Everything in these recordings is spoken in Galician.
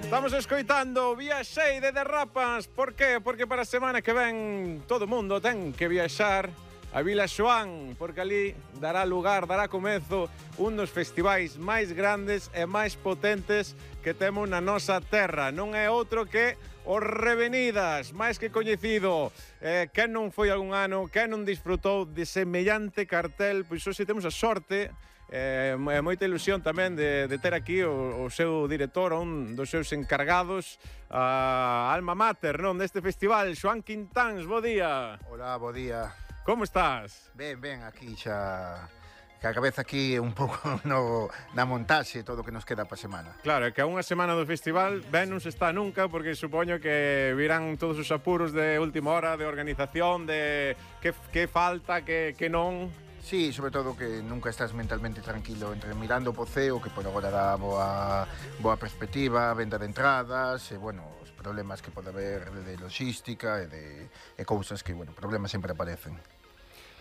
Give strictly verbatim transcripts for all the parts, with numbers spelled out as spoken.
Estamos escoitando Viaxei de Derrapas. Por qué? Porque para a semana que ven todo o mundo ten que viaxar a Vila Xoán, porque ali dará lugar, dará comezo un dos festivais máis grandes e máis potentes que temos na nosa terra. Non é outro que os Revenidas, máis que coñecido. Eh, quen non foi algún ano, quen non disfrutou de semellante cartel, pois hoxe temos a sorte e eh, moita ilusión tamén de, de ter aquí o, o seu director, un dos seus encargados, a alma mater, non, deste festival, Xoán Quintáns. Bo día. Hola, bo día. Como estás? Ben, ben, aquí xa... Que a cabeza aquí un pouco no, na montaxe todo o que nos queda para a semana. Claro, é que a unha semana do festival ben non se está nunca, porque supoño que virán todos os apuros de última hora, de organización, de que, que falta, que, que non... Sí, sobre todo que nunca estás mentalmente tranquilo entre mirando o Poceo, que por agora dá boa, boa perspectiva, venda de entradas, e, bueno, os problemas que pode haber de logística e, de, e cousas que, bueno, problemas sempre aparecen.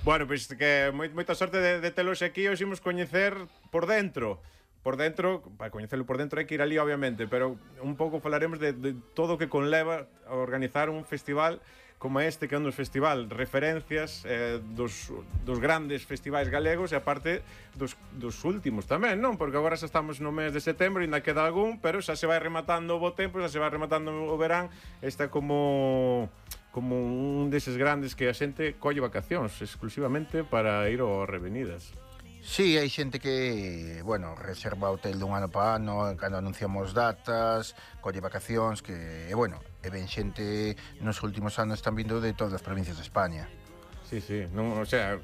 Bueno, pois pues, que moi, moita sorte de, de telos aquí, os imos coñecer por dentro. Por dentro, para coñecelo por dentro hai que ir ali, obviamente, pero un pouco falaremos de, de todo o que conleva a organizar un festival como este, que é un dos festival referencias eh, dos, dos grandes festivais galegos e aparte dos, dos últimos tamén, non? Porque agora xa estamos no mes de setembro e ainda queda algún, pero xa se vai rematando o bo tempo, xa se vai rematando o verán. Está como como un deses grandes que a xente colle vacacións exclusivamente para ir ao Revenidas. Sí, hai xente que, bueno, reserva hotel dun ano para ano, cando anunciamos datas, colle vacacións, que, e, bueno, e ben xente nos últimos anos están vindo de todas as provincias de España. Sí, sí, non, o sea,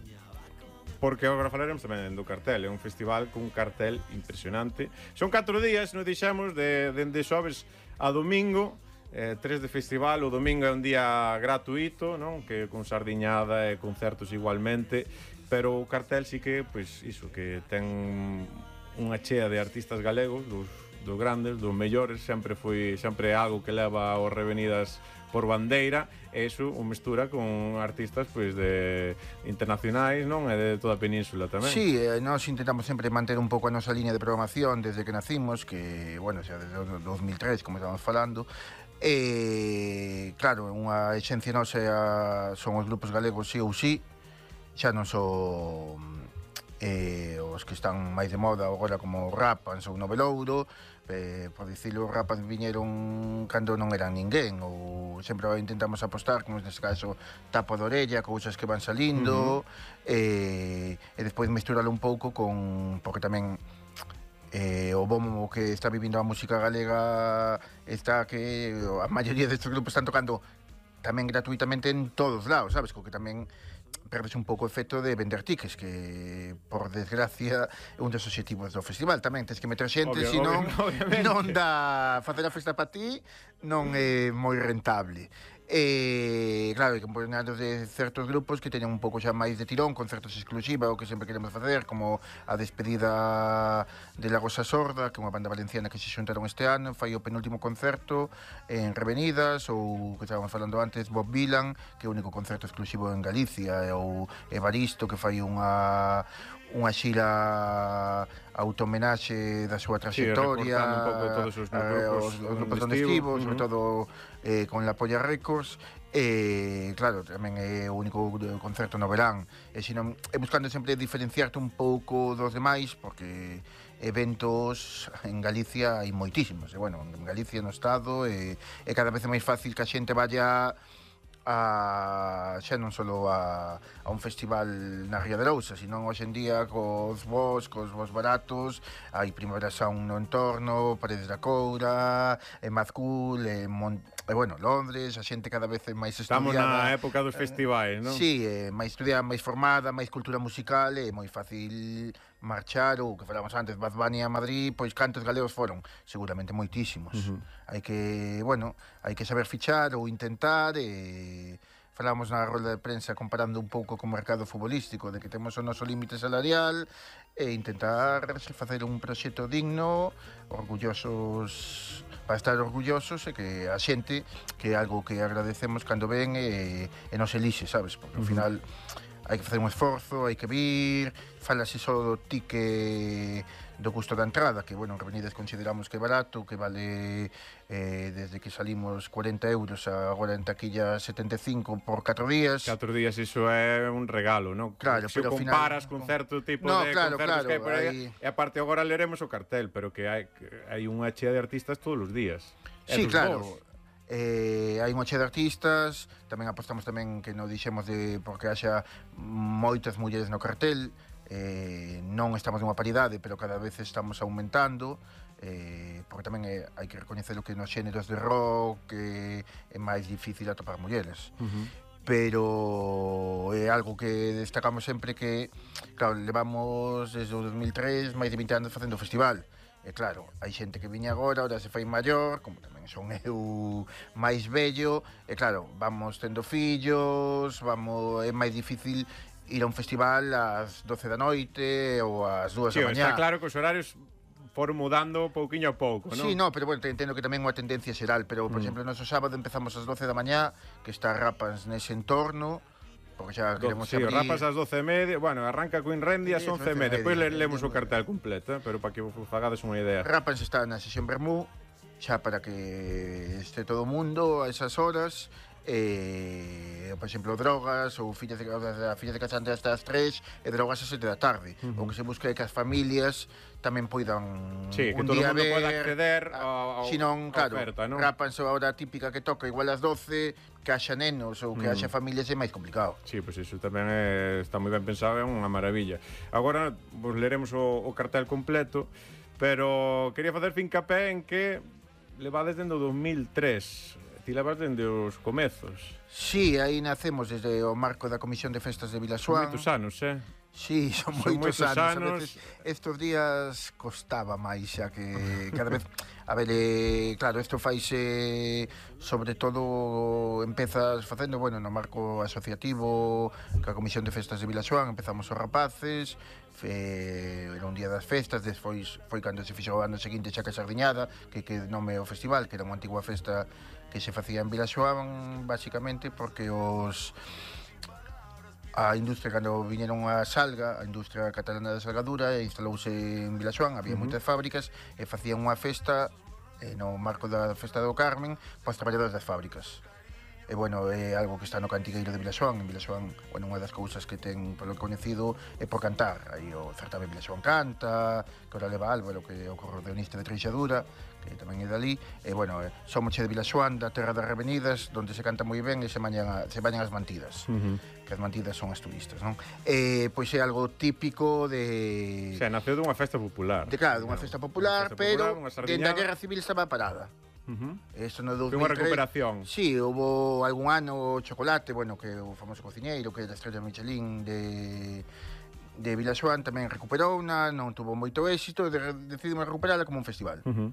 porque agora falaremos tamén do cartel, é un festival cun cartel impresionante. Son catro días, nos dixemos, de, de, de xoves a domingo, eh, tres de festival. O domingo é un día gratuito, non? Que con sardiñada e concertos igualmente, pero o cartel sí que, pois, iso, que ten unha chea de artistas galegos, dos, dos grandes, dos mellores. Sempre foi, sempre é algo que leva aos Revenidas por bandeira, e iso o mestura con artistas, pois, de internacionais, non? E de toda a península tamén. Sí, eh, nós intentamos sempre manter un pouco a nosa liña de programación desde que nacimos, que, bueno, xa desde o dos mil tres, como estamos falando. E, claro, unha exencia nosa son os grupos galegos sí ou sí, xa non son eh, os que están máis de moda agora como Rapans ou Novelouro, eh, por dicilo, os Rapans viñeron cando non eran ninguén, ou sempre intentamos apostar, como neste caso Tapo de Orella, cousas que van salindo, uh-huh. e, e despois mesturalo un pouco con, porque tamén Eh, o bom que está vivindo a música galega está que a maioría destes grupos están tocando tamén gratuitamente en todos lados, sabes? Co que tamén perdes un pouco o efecto de vender tickets, que, por desgracia, é un dos obxectivos do festival. Tamén tens que meter xente, Obvio, senón obvio, non dá facer a festa para ti, non é moi rentable. E, claro, hai que poner de certos grupos que teñan un pouco xa máis de tirón, concertos exclusivos, o que sempre queremos facer, como a despedida de La Rosa Sorda, que é unha banda valenciana que se xuntaron este ano, fai o penúltimo concerto en Revenidas, ou, que estábamos falando antes, Bob Dylan, que é o único concerto exclusivo en Galicia, ou Evaristo, que fai unha unha xira auto-homenaxe da súa trayectoria, sí, un pouco todos os grupos, os, os grupos onde estivo, sobre todo eh, con la Polla Records, e claro, tamén é o único concerto no verán, e senón, é buscando sempre diferenciarte un pouco dos demais, porque eventos en Galicia hai moitísimos, e bueno, en Galicia no Estado, e, e cada vez é máis fácil que a xente vaya a xa non só a, a un festival na Ría de Lousa, sino hoxe en día cos vos, cos vos baratos, hai Primavera Sound no entorno, Paredes da Coura, e Mazcool, e, Mon e bueno, Londres, a xente cada vez é máis estudiada. Estamos na época dos festivais, non? Sí, é máis estudiada, máis formada, máis cultura musical, é moi fácil marchar, ou que falamos antes, Bad Bunny a Madrid, pois cantos galegos foron? Seguramente moitísimos. Uh-huh. Hai que, bueno, hai que saber fichar ou intentar, e falamos na rolda de prensa comparando un pouco co mercado futbolístico, de que temos o noso límite salarial, e intentar facer un proxecto digno, orgullosos, para estar orgullosos, e que a xente, que é algo que agradecemos cando ven e, e nos elixe, sabes? Porque ao final hai que facer un esforzo, hai que vir, falase só do ti que do custo da entrada, que, bueno, en Revenidas consideramos que é barato, que vale eh, desde que salimos cuarenta euros a agora en taquilla setenta e cinco por catro días. Catro días, iso é un regalo, non? Claro, se pero o comparas final, con certo tipo no, de claro, concertos claro, que hai por aí, hai... e aparte agora leremos o cartel, pero que hai, que hai unha chea de artistas todos os días. Sí, claro. Eh, hai unha chea de artistas, tamén apostamos tamén que non dixemos de porque haxa moitas mulleres no cartel, eh, non estamos nunha paridade, pero cada vez estamos aumentando, eh, porque tamén é, hai que recoñecer o que nos xéneros de rock que é máis difícil atopar mulleres. Uh-huh. Pero é algo que destacamos sempre que, claro, levamos desde o dos mil tres máis de vinte anos facendo o festival. E claro, hai xente que viña agora, ahora se fai maior, como tamén son eu máis vello, e claro, vamos tendo fillos, vamos, é máis difícil ir a un festival ás doce da noite ou ás dúas sí, da mañá. Está claro que os horarios foron mudando pouquiño a pouco, non? Sí, no, pero bueno, entendo que tamén é unha tendencia xeral, pero, por mm. exemplo, noso sábado empezamos ás doce da mañá, que está Rapans nese entorno, porque xa queremos sí, abrir... Rapas ás doce e media, bueno, arranca co Inrendi ás once e media, depois lemos o cartel completo, eh, pero para que vos fagades unha idea. Rapans está na sesión Bermú, xa para que este todo o mundo a esas horas, eh, por exemplo, drogas ou fillas de, a fillas de casante hasta as tres e drogas a sete da tarde. Uh -huh. O que se busca é que as familias tamén poidan sí, un que todo día o mundo ver, poida acceder a, a, non, claro, oferta, non? Rapans a hora típica que toca igual ás doce, que haxa nenos ou que mm. haxa familias é máis complicado. Sí, pois pues iso tamén é, está moi ben pensado, é unha maravilla. Agora vos leremos o, o cartel completo, pero quería facer fincapé en que levades dende o dos mil tres. Ti levas dende os comezos. Sí, aí nacemos desde o marco da Comisión de Festas de Vilaxoán. Moitos anos, eh? Sí, son, son moitos, moitos anos. anos. A veces estos días costaba máis, xa que cada vez... A ver, eh, claro, isto faise sobre todo empezas facendo, bueno, no marco asociativo ca Comisión de Festas de Vilaxoán, empezamos os rapaces, fe, era un día das festas, despois foi cando se fixo o ano seguinte xa que Sardiñada, que que nome o festival, que era unha antigua festa que se facía en Vilaxoán, basicamente porque os a industria, cando viñeron a Salga, a industria catalana da salgadura, instalouse en Vilaxoán, había uh -huh. moitas fábricas e facían unha festa eh, no marco da festa do Carmen para os traballadores das fábricas. E, bueno, é algo que está no cantigueiro de Vilaxoán. En Vilaxoán, bueno, unha das cousas que ten polo coñecido é por cantar. Aí o certame Vilaxoán Canta, que ora leva Álvaro, que é o acordeonista de Treixadura, que tamén é dali. E, bueno, eh, somos che de Vilaxoán, da terra das Revenidas, donde se canta moi ben e se bañan, a, se bañan as mantidas. Uh -huh. Que as mantidas son as turistas, non? E, pois é algo típico de... O sea, naceu dunha festa popular. De, claro, dunha festa popular, festa pero popular, dende a Guerra Civil estaba parada. Uh -huh. Eso no dos Foi mil tres, unha recuperación. Sí, houve algún ano o Chocolate, bueno, que o famoso cociñeiro, que é da estrella Michelin de, de Vilaxoán, tamén recuperou unha, non tuvo moito éxito, de, decidimos recuperala como un festival. Uh -huh.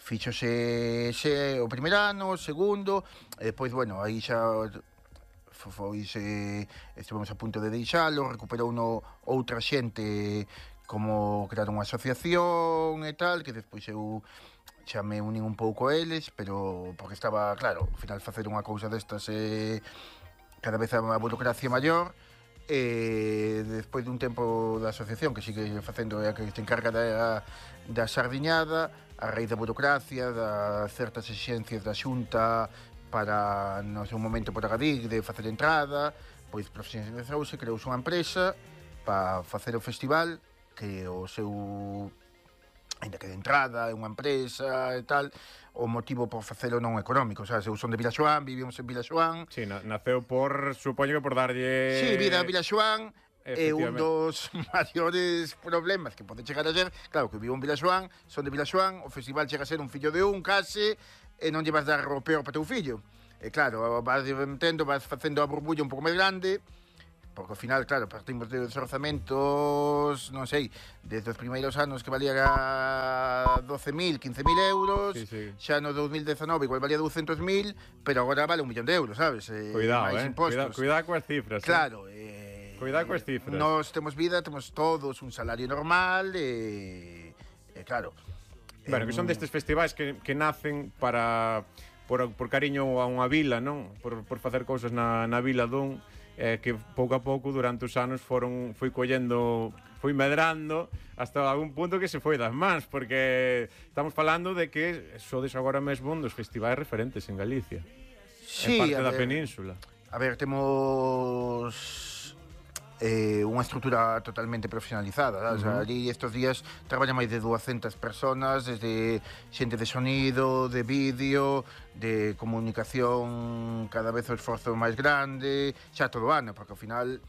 Fíxose xe, o primer ano, o segundo, e depois, bueno, aí xa foi se estivemos a punto de deixalo, recuperou no outra xente como crear unha asociación e tal, que despois eu xa me unín un pouco a eles, pero porque estaba, claro, ao final facer unha cousa destas é eh, cada vez a burocracia maior, e despois dun tempo da asociación que sigue facendo é a que se encarga da, da sardiñada, a raíz da burocracia, da certas exixencias da xunta para, no seu momento, por agadir, de facer entrada, pois profesionalizouse, creouse unha empresa para facer o festival, que o seu... ainda que de entrada, é unha empresa e tal, o motivo por facelo non económico, sabes? Eu son de Vilaxoán, vivimos en Vilaxoán. Sí, naceu por, supoño que por darlle... Sí, vida a Vilaxoán, é un dos maiores problemas que pode chegar a ser, claro, que vivo en Vilaxoán, son de Vilaxoán, o festival chega a ser un fillo de un, case, e non lle vas dar o peor para teu fillo. E claro, vas metendo, vas facendo a burbulla un pouco máis grande, porque ao final, claro, partimos de orzamentos, non sei, desde os primeiros anos que valía doce mil, quince mil euros, sí, sí. Xa no dos mil dezanove igual valía douscentos mil, pero agora vale un millón de euros, sabes? Eh, cuidado, eh? Cuidado, cuidado coas cifras. Claro, eh, cuidado coas cifras. Nós temos vida, temos todos un salario normal, e, eh, eh, claro. Bueno, eh, que son destes festivais que, que nacen para por, por cariño a unha vila, non? Por, por facer cousas na, na vila dun... Eh, que pouco a pouco durante os anos foron foi collendo foi medrando hasta algún punto que se foi das mans, porque estamos falando de que sodes agora mesmo un dos festivais referentes en Galicia, sí, en parte da ver, península. A ver, temos eh, unha estrutura totalmente profesionalizada, uh -huh. O sea, ali estes días traballan máis de duascentas personas, desde xente de sonido, de vídeo, de comunicación, cada vez o esforzo máis grande, xa todo o ano, porque ao final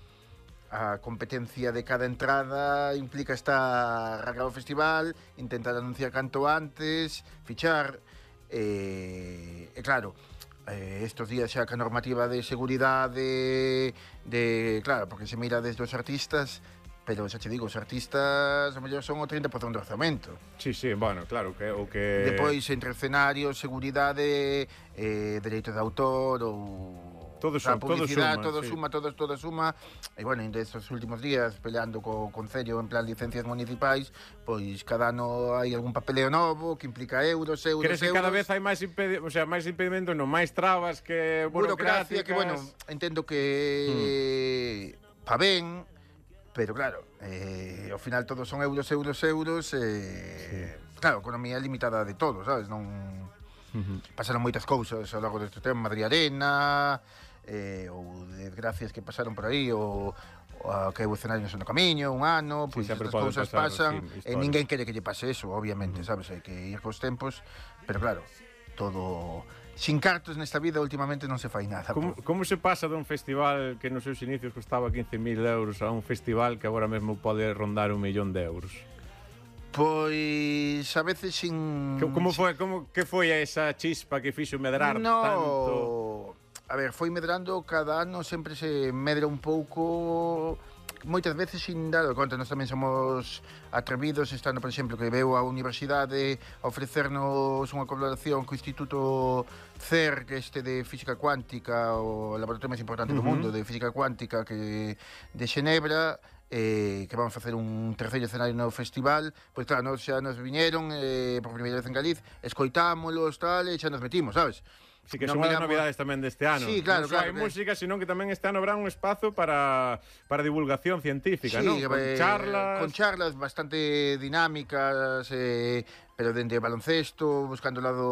a competencia de cada entrada implica estar arreglar o festival, intentar anunciar canto antes, fichar, e, e claro, Eh, estos días xa que a normativa de seguridade de, claro, porque se mira desde os artistas, pero xa te digo, os artistas a mellor son o trinta por cento do orzamento. Sí, sí, bueno, claro, que o que Depois entre escenarios, seguridade, eh, dereito de autor ou todo suma, publicidade, todo todo suma, todo, todo suma. E bueno, en estes últimos días peleando co Concello en plan licencias municipais, pois cada ano hai algún papeleo novo que implica euros, euros, Crees que euros. cada vez hai máis impedi o sea, máis impedimentos, non máis trabas que burocracia, que bueno, entendo que hmm. pa ben, pero claro, eh, ao final todos son euros, euros, euros, eh, sí. Claro, economía limitada de todo, sabes? Non uh-huh. Pasaron moitas cousas ao longo deste tema, Madrid Arena, eh, ou desgracias que pasaron por aí, ou a que o escenario no camiño, un ano, pois pues, estas cousas pasar, pasan, sí, e ninguén quere que lle pase eso, obviamente, uh-huh. Sabes? Hai que ir cos tempos, pero claro, todo sin cartos nesta vida últimamente non se fai nada. Como, como se pasa dun festival que nos seus inicios costaba quince mil euros a un festival que agora mesmo pode rondar un millón de euros? Pois a veces sin... Como foi, como que foi esa chispa que fixo medrar no, tanto? A ver, foi medrando cada ano, sempre se medra un pouco, moitas veces sin dar conta. Nós tamén somos atrevidos, estando, por exemplo, que veu a Universidade a ofrecernos unha colaboración co Instituto C E R, que este de Física Cuántica, o laboratorio máis importante uh-huh. do mundo de Física Cuántica, que de Xenebra, eh, que vamos a facer un terceiro escenario no festival. Pois claro, nos xa nos viñeron eh, por primeira vez en Galiz, escoitámolos, tal, e xa nos metimos, sabes? Sí, que son as novidades tamén deste ano. Sí, claro, non só hai claro, música, sino que tamén este ano habrá un espazo para, para divulgación científica, sí, non? Con eh, charlas... Con charlas bastante dinámicas, eh, pero dende baloncesto, buscando o lado,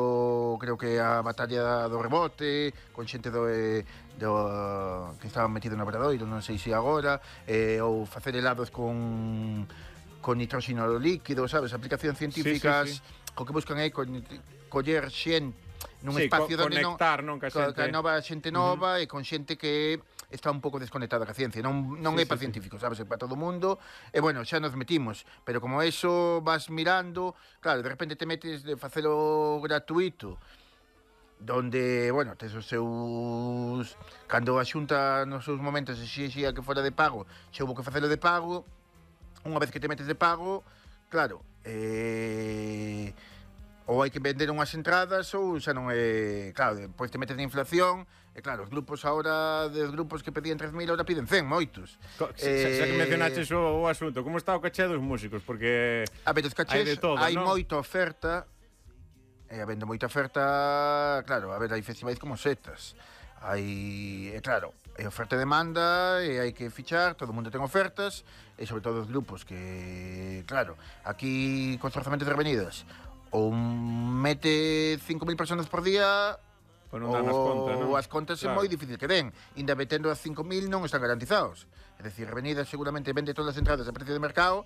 creo que a batalla do rebote, con xente do, eh, do que estaba metido no Obradoiro, non sei se agora, eh, ou facer helados con, con nitróxeno líquido, sabes? Aplicacións científicas, sí, sí, sí. O que buscan aí con, coller xente nun sí, espacio co donde conectar, non, ca xente... ca nova xente nova uh -huh. e con xente que está un pouco desconectada ca ciencia, non, non sí, é para sí, científicos, sabes, é para todo o mundo, e bueno, xa nos metimos, pero como eso vas mirando, claro, de repente te metes de facelo gratuito, donde, bueno, tes os seus... Cando a xunta nos seus momentos exixía que fora de pago, xa hubo que facelo de pago, unha vez que te metes de pago, claro, eh... ou hai que vender unhas entradas ou xa non é... Claro, depois te metes de inflación e claro, os grupos agora, dos grupos que pedían tres mil, ahora piden cen, moitos. Co eh... Xa que mencionaches o, o asunto, como está o caché dos músicos? Porque a ver, os cachés, hai de todo, hai ¿no? moita oferta, e habendo moita oferta, claro, a ver, hai festivais como setas. Hai, e claro, hai oferta e demanda e hai que fichar, todo o mundo ten ofertas, e sobre todo os grupos que, claro, aquí con os orzamentos de avenidas, ou mete cinco mil personas por día, pues non dan as contas, non? Ou as contas claro. É moi difícil que den. Inda metendo as cinco mil non están garantizados. É dicir, Avenida seguramente vende todas as entradas a precio de mercado,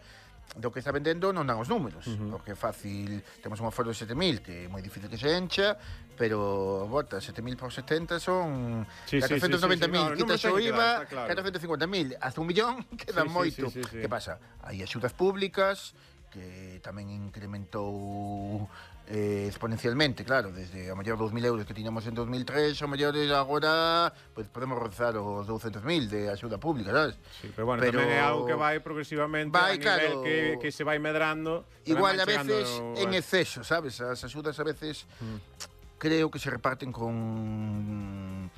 do que está vendendo non dan os números, uh -huh. porque é fácil, temos un aforo de sete mil, que é moi difícil que se encha, pero, bota, sete mil por setenta son sí, catrocentos noventa mil, sí, sí, sí. quitas o I V A, claro. catrocentos cincuenta mil, hasta un millón, queda sí, moito. Sí, sí, sí, sí. Que pasa? Hai axudas públicas, que tamén incrementou eh, exponencialmente, claro, desde a mellor dous mil euros que tiñamos en dos mil tres, a mellor agora pues, podemos rozar os douscentos mil de axuda pública, sabes? Sí, pero bueno, pero tamén é algo que vai progresivamente vai, a nivel claro, que, que se vai medrando. Igual a veces no... en exceso, sabes? As axudas a veces mm. creo que se reparten con...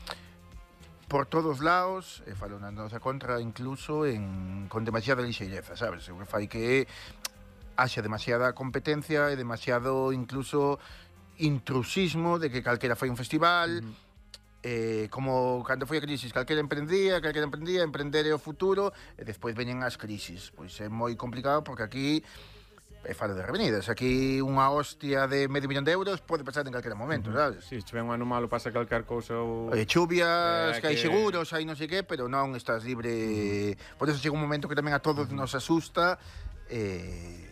por todos lados, e falo na nosa contra incluso en con demasiada lixeireza, sabes? O que fai que haxa demasiada competencia e demasiado incluso intrusismo de que calquera fai un festival. Mm. eh, como cando foi a crisis, calquera emprendía, calquera emprendía, emprender é o futuro, e despois veñen as crisis. Pois é moi complicado porque aquí, e falo de Revenidas, aquí unha hostia de medio millón de euros pode pasar en calquera momento, uh-huh. sabes? Si, sí, se ven un ano malo pasa calcar cousa ou... E chuvias, eh, que hai que... seguros, hai non sei que, pero non estás libre... Uh-huh. Por eso chega un momento que tamén a todos uh-huh. nos asusta, eh...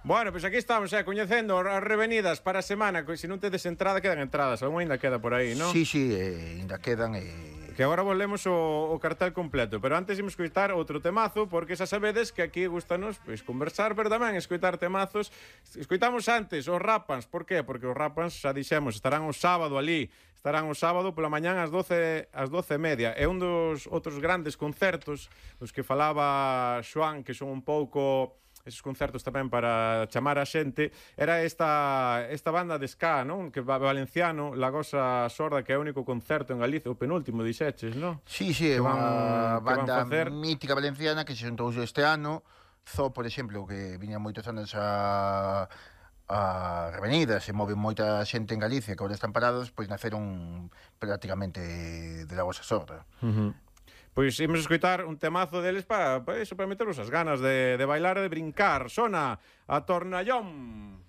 Bueno, pois pues aquí estamos, eh, coñecendo as Revenidas para a semana, que se non tedes entrada, quedan entradas, algún ainda queda por aí, non? Sí, sí, eh, ainda quedan, eh... Que agora volvemos o, o cartel completo, pero antes imos escoitar outro temazo, porque xa sabedes que aquí gustanos pois, conversar, pero tamén escoitar temazos. Escoitamos antes os Rapans, por qué? Porque os Rapans, xa dixemos, estarán o sábado ali, estarán o sábado pola mañán ás doce e media. É un dos outros grandes concertos dos que falaba Xoán, que son un pouco... esos concertos tamén para chamar a xente, era esta esta banda de ska, non? Que va valenciano, Lagosa Sorda, que é o único concerto en Galicia, o penúltimo, dixeches, non? Sí, sí, é unha banda mítica valenciana que se xuntou este ano. Zo, por exemplo, que viña moitos anos a a Revenidas, se move moita xente en Galicia que agora están parados, pois naceron prácticamente de Lagosa Sorda. Uh-huh. Pois imos escoitar un temazo deles para, para, eso, para meternos as ganas de, de bailar e de brincar. Sona a Tornallón.